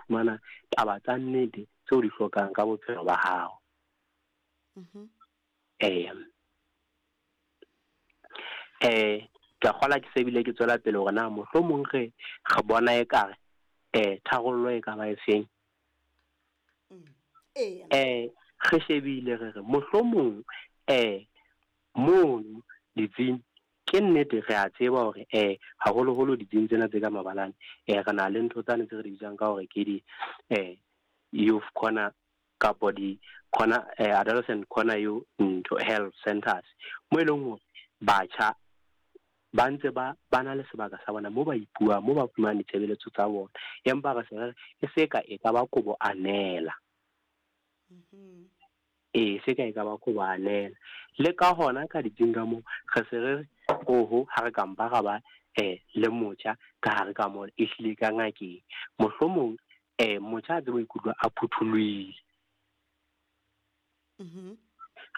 fumana taba tsa nnete tseo o di hlokang ka bophelo ba hao. Eya. Ke a kgolwa ke se bile ke tswela pele hore na mohlomong re re bona ekare tharollo e ka ba efeng. Re shebile re re mohlomong mono ditsing ke nnete re a tseba hore haholoholo ditsing tsena tse ka mabalane re na le ntho tsane tse re di bitsang ka hore ke di youth corner kapo di corner adolescent corner you ntho health centers mo e leng hore batjha ba ntse ba ba na le sebaka sa bona mo ba ipuang mo ba fumanang ditshebeletso tsa bona, empa re se re e se ka e ka ba kobo anela. Ee, se ka e ka ba kobo anela. Le ka hona ka ditsing ka moo re se re re oho ha re ka mpa ra ba le motjha ka hare ka mona ehlile ka ngakeng. Mohlomong motjha a tsebe ho ikutlwa a phuthulohile.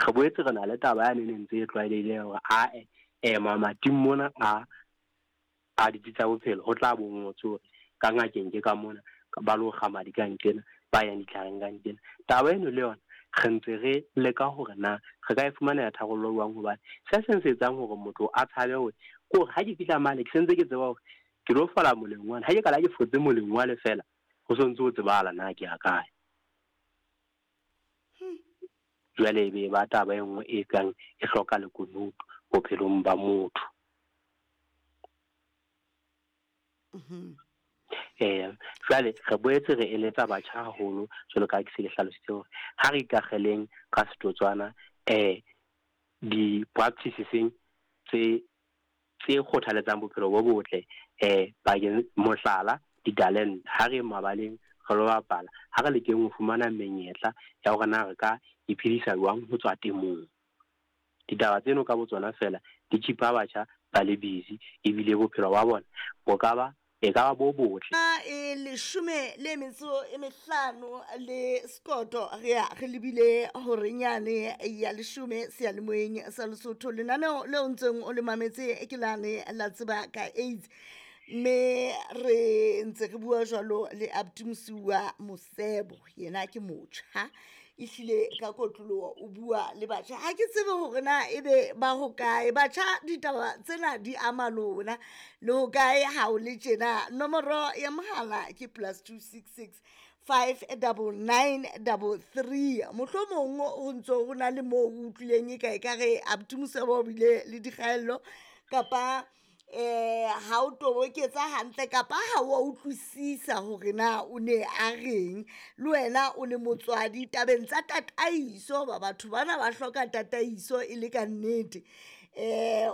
Re boetse re na le taba yane e ne ntse e tlwaelehile ya hore ae mamating mona a a ditsi tsa bophelo ho tla bo ngotswe hore ka ngakeng ke ka mona, ba lo kga madi ka nqena, ba yang ditlhareng ka nqena. Taba eno le yona re ntse re leka hore na re ka e fumanela tharollo jwang, hobane se seng se etsang hore motho a tshabe hore ke hore ha ke fihla mane ke sentse ke tseba hore ke lo fola moleng wane, ha ke kala ke fotse moleng wale fela ho so ntse ho tsebahala na ke ya kae. Jwale e be ba taba e nngwe e kang e hloka lekunutu bophelong ba motho. Jwale re boetse re eletsa batjha haholo jwalo ka ha ke se ke hlalositse hore ha re ikakgeleng ka setotswana di-practiceseng tse tse kgothaletsang bophelo bo botle bakeng mohlala ditalente ha re mabaleng re lo bapala, ha re lekeng ho fumana menyetla ya hore na re ka iphedisa jwang ho tswa temong. Ditaba tseno ka botsona fela di keep-a batjha ba le busy ebile bophelo ba bona bo ka ba e ka ba bo botle. E leshome le metso e mehlano le sekoto re ya re lebile horenyane ya leshome seyalemoyeng sa Lesotho. Lenaneo leo ntseng o le mametse ke lane la tseba ka AIDS, mme re ntse re bua jwalo le Abuti Mosiuwa Mosebo, yena ke motjha ehlile ka kotloloho o bua le batjha. Ha ke tsebe hore na ebe ba hokae batjha, ditaba tsena di ama lona le hokae ha o le tjena. Nomoro ya mohala ke +266 599 33. Mohlomong ho ntso ho na le moo o utlwileng e ka ekare Abuti Mosebo o bile le dikgaello kapa ha o toboketsa hantle kapa ha wa utlwisisa hore na o ne a reng. Le wena o le motswadi tabeng tsa tataiso, ba batho bana ba hloka tataiso e le ka nnete.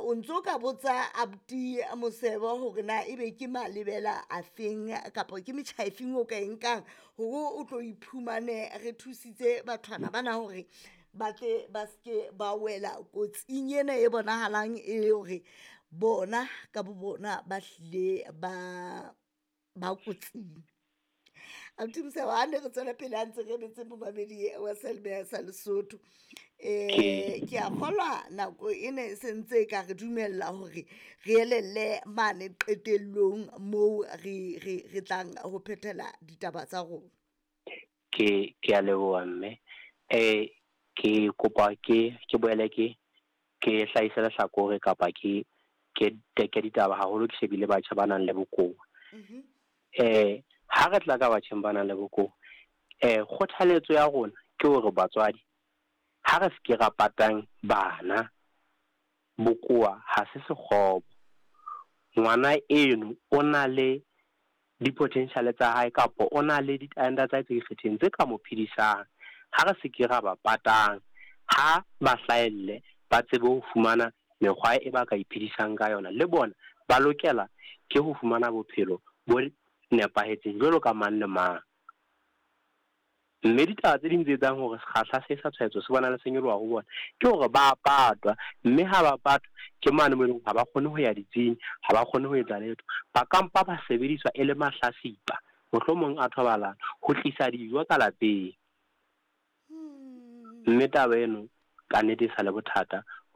O ntso ka botsa Abuti Mosebo hore na ebe ke malebela a feng kapa ke metjha e feng o ka e nkang hore o tlo iphumane re thusitse bathwana bana hore ba tle ba ske ba wela kotsing ena e bonahalang e hore bona ka bo bona ba hlile ba ba kotsing. Abuti Mosebo, ha ne re tswela pele ha ntse re emetse momamedi wa seyalemoya sa Lesotho. Ke a kgolwa nako ena e sentse e ka re dumella hore re elelle mane qetellong moo re re re tlang ho phethela ditaba tsa rona. Ke a leboha mme. Ke kopa ke ke boele ke ke hlahise lehlakore kapa ke ke teke ditaba haholo ke shebile batjha ba nang le bokowa. Ha re tla ka batjheng ba nang le bokowa, kgothaletso ya rona ke hore batswadi ha re se ke ra patang bana, bokowa ha se sekgobo. Ngwana eno o na le di-potential tsa hae kapa o na le ditalente tsa hae tse ikgethileng tse ka mo phedisang. Ha re se ke ra ba patang, ha ba hlahelle ba tsebe ho fumana mekgwa e ba ka iphedisang ka yona, le bona ba lokela ke ho fumana bophelo bo nepahetseng jwalo ka mang le mang. Mme ditaba tse ding tse etsang hore sekgahla se sa tshwaetso se bona le se nyoloha ho bona ke hore ba patwa, mme ha ba patwa ke mane mo eleng ha ba kgone ho ya ditsing, ha ba kgone ho etsa letho. Ba ka mpa ba sebediswa e le mahlasipa, mohlomong a thobalano, ho tlisa dijo ka lapeng. Mme taba eno ka nnete e sa le bothata